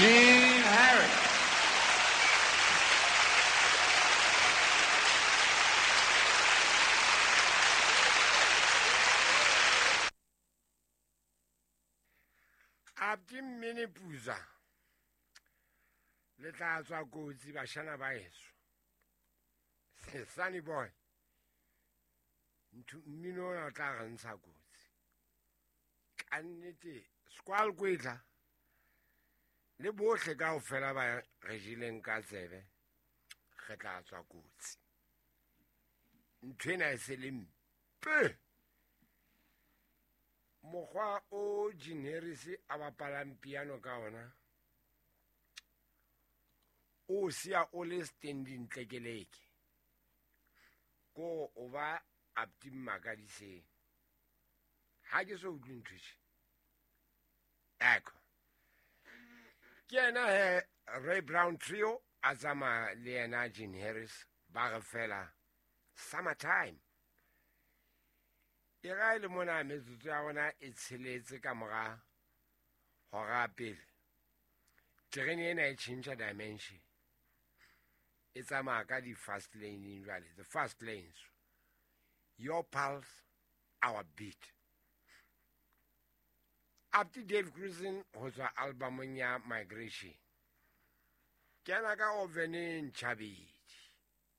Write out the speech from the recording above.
Gene Harris. Abdi Mmene Puza le tla tswa kotsi bashana ba heso. Sunny Boy, ntho mmino ona o tla re ntsha kotsi ka nnete. Squal kwetla le bohle kaofela ba re jeleng ka tsebe, re tla tswa kotsi. Ntho ena e se le mpe. Mokgwa o Gene Harris a bapalang piano ka ona o siya o le standing tlekeleke ko o ba apti mmakadiseng. Ha ke so utlwe ntho tje. Eko ke yena he Ray Brown Trio a tsamaya le yena Gene Harris ba re fela Summertime. E ga e le mona metsotso ya rona e tsheletse ka mora hora pele, terene ena e tjhentjha dimension, e tsamaya ka di-fast lane jwale, the fast lanes. Your pulse, our beat. Up to Dave Grusin ho tswa albumong ya Migration. Kena ka oveneng Chabedi.